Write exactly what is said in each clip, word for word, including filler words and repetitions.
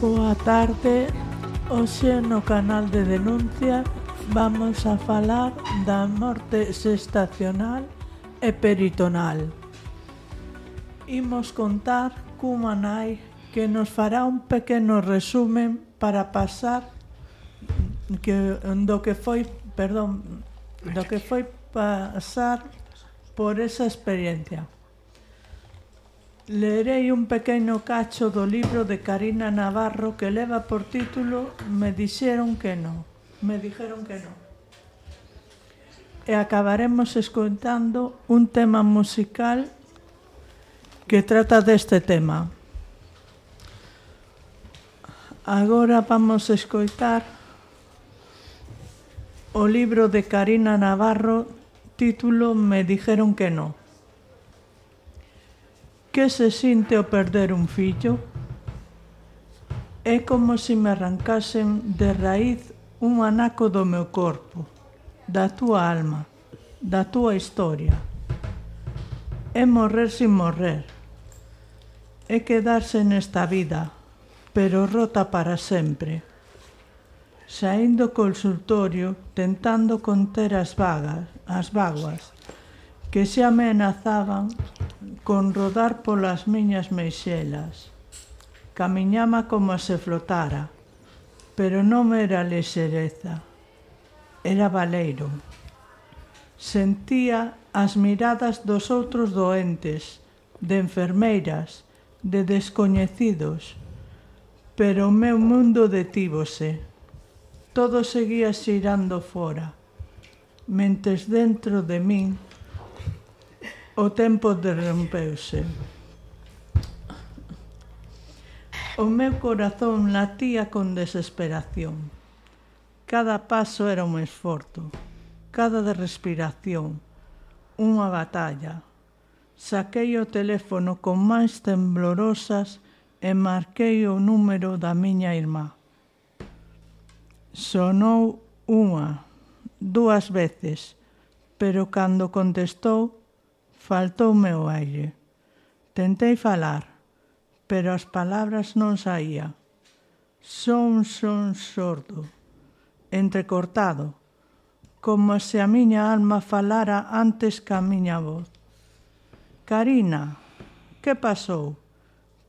Boa tarde, hoxe no canal de denuncia vamos a falar da morte xestacional e peritonal. Imos contar cunha nai que nos fará un pequeno resumen para pasar que, do que foi, perdón, do que foi pasar por esa experiencia. Leerei un pequeno cacho do libro de Karina Navarro que leva por título Me dixeron que non. Me dixeron que non. E acabaremos escoitando un tema musical que trata deste tema. Agora vamos a escoitar o libro de Karina Navarro, título Me dixeron que non. Que se sinte o perder un fillo? É como se me arrancasen de raíz un anaco do meu corpo, da túa alma, da túa historia. É morrer sin morrer. É quedarse nesta vida, pero rota para sempre. Saindo do consultorio, tentando conter as vagas, as vaguas, que xa me amenazaban con rodar polas miñas meixelas. Camiñaba como se flotara, pero non era lexereza, era baleiro. Sentía as miradas dos outros doentes, de enfermeiras, de descoñecidos, pero o meu mundo detívose. Todo seguía xirando fora, mentres dentro de min o tempo derrompeuse. O meu corazón latía con desesperación. Cada paso era un esforzo, cada respiración, unha batalla. Saquei o teléfono con mans temblorosas e marquei o número da miña irmá. Sonou unha, dúas veces, pero cando contestou, faltoume o aire. Tentei falar, pero as palabras non saía. Son, son sordo, entrecortado, como se a miña alma falara antes que a miña voz. Karina, que pasou?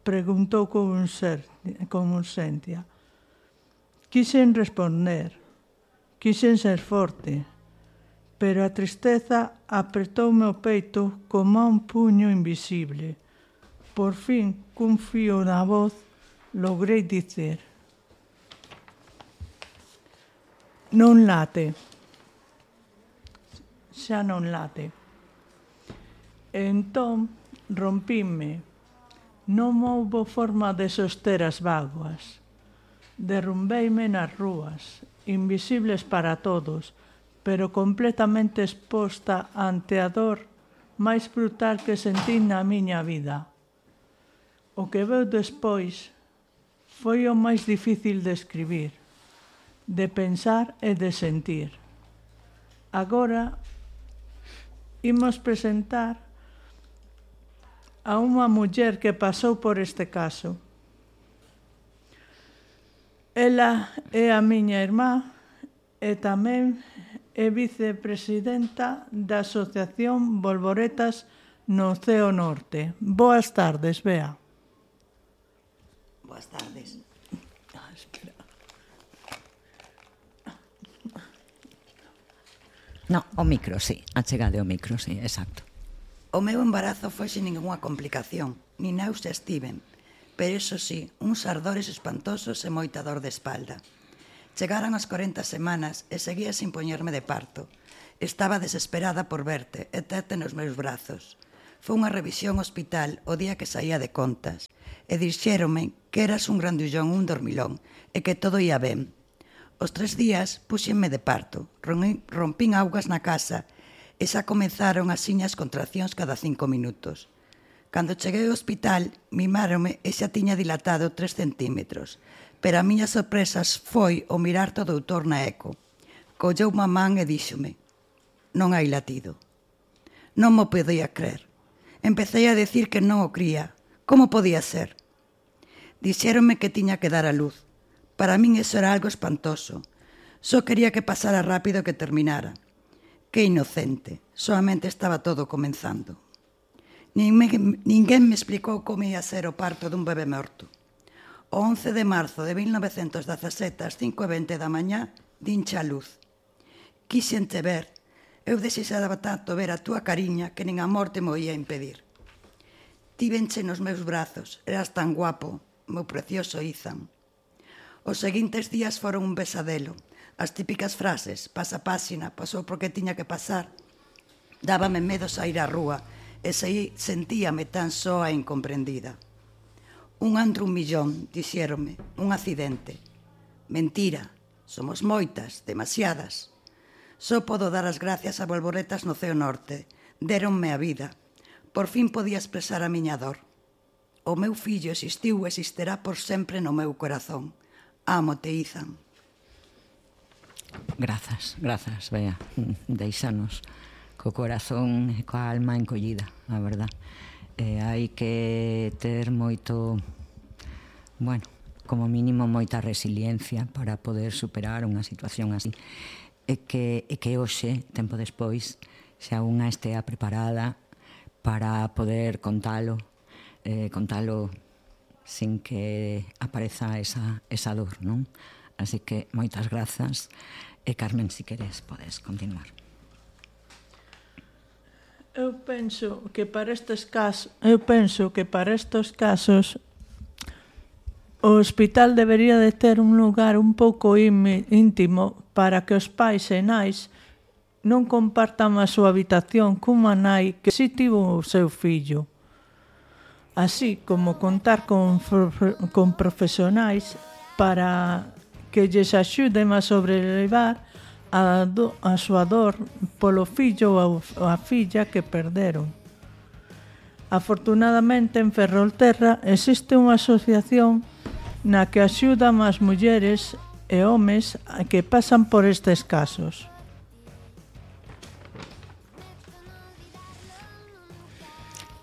Preguntou con urxencia. Quixen responder, quixen ser forte, pero a tristeza apretoume o peito como un puño invisible. Por fin, cun fío na voz, logrei dicer: non late. Xa non late. E entón, rompíme. Non houbo forma de soster as vaguas. Derrumbeime nas rúas, invisibles para todos, pero completamente exposta ante a dor máis brutal que sentín na miña vida. O que veu despois foi o máis difícil de escribir, de pensar e de sentir. Agora imos presentar a unha muller que pasou por este caso. Ela é a miña irmá e tamén é vicepresidenta da Asociación Bolboretas no Ceo Norte. Boas tardes, Bea. Boas tardes. Ah, espera. No, o micro, sí. Achegade o micro, sí, exacto. O meu embarazo foi sin ninguna complicación, ni náuseas tiven, pero iso sí, uns ardores espantosos e moita dor de espalda. Chegaron as corenta semanas e seguía sin poñerme de parto. Estaba desesperada por verte e terte nos meus brazos. Foi unha revisión hospital o día que saía de contas e dixéronme que eras un grandullón, un dormilón e que todo ia ben. Os tres días puxenme de parto, rompín augas na casa e xa comenzaron as siñas contraccións cada cinco minutos. Cando cheguei ao hospital, mimáronme e xa tiña dilatado tres centímetros, pero a miña sorpresa foi o mirar to doutor na eco. Colleu má man e díxome: non hai latido. Non mo podía crer. Empecei a decir que non o cría. Como podía ser? Dixéronme que tiña que dar a luz. Para min eso era algo espantoso. Só quería que pasara rápido que terminara. Que inocente, solamente estaba todo comenzando. Ninguén me explicou como ia ser o parto dun bebé morto. O once de marzo de mil novecentos dezasete ás cinco e vinte da mañá dincha a luz. Quixente ver, eu desexaba tanto ver a túa cariña que nin a morte mo ia impedir. Tívenche nos meus brazos, eras tan guapo, meu precioso Izan. Os seguintes días foron un besadelo. As típicas frases, pasa páxina, pasou porque tiña que pasar. Dábame medo sair á rúa e sei, sentíame tan soa e incomprendida. Un antro un millón, dixéronme, un accidente. Mentira, somos moitas, demasiadas. Só podo dar as gracias a bolboretas no ceo norte. Déronme a vida. Por fin podía expresar a miña dor. O meu fillo existiu e existirá por sempre no meu corazón. Ámote, Izan. Grazas, grazas, Bea. Deixanos co corazón e coa alma encollida, a verdad. Eh, hai que ter moito, bueno, como mínimo moita resiliencia para poder superar unha situación así. E que, e que hoxe, tempo despois, xa unha estea preparada para poder contalo, eh, contalo sin que apareza esa, esa dor, non? Así que moitas grazas e Carmen, si queres, podes continuar. Eu penso que para estes casos, eu penso que para estes casos o hospital debería de ter un lugar un pouco íntimo para que os pais e nais non compartan a súa habitación cunha nai que si tivo o seu fillo. Así como contar con, con profesionais para que lles axuden a sobrelevar a, do, a súa dor polo fillo ou a filla que perderon. Afortunadamente, en Ferrolterra existe unha asociación na que axudan as mulleres e homes que pasan por estes casos.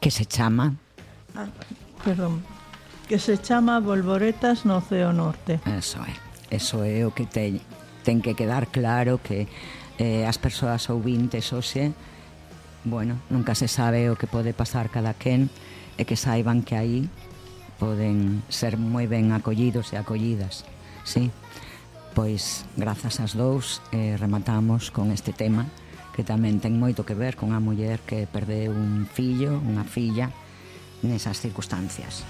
Que se chama? Ah, perdón. Que se chama Bolboretas no Ceo Norte. Eso é. Eso é o que ten, ten que quedar claro que eh, as persoas ouvintes hoxe, bueno, nunca se sabe o que pode pasar cada quen e que saiban que aí poden ser moi ben acollidos e acollidas, sí? Pois, grazas ás dous, eh, rematamos con este tema que tamén ten moito que ver con a muller que perdeu un fillo, unha filla, nesas circunstancias.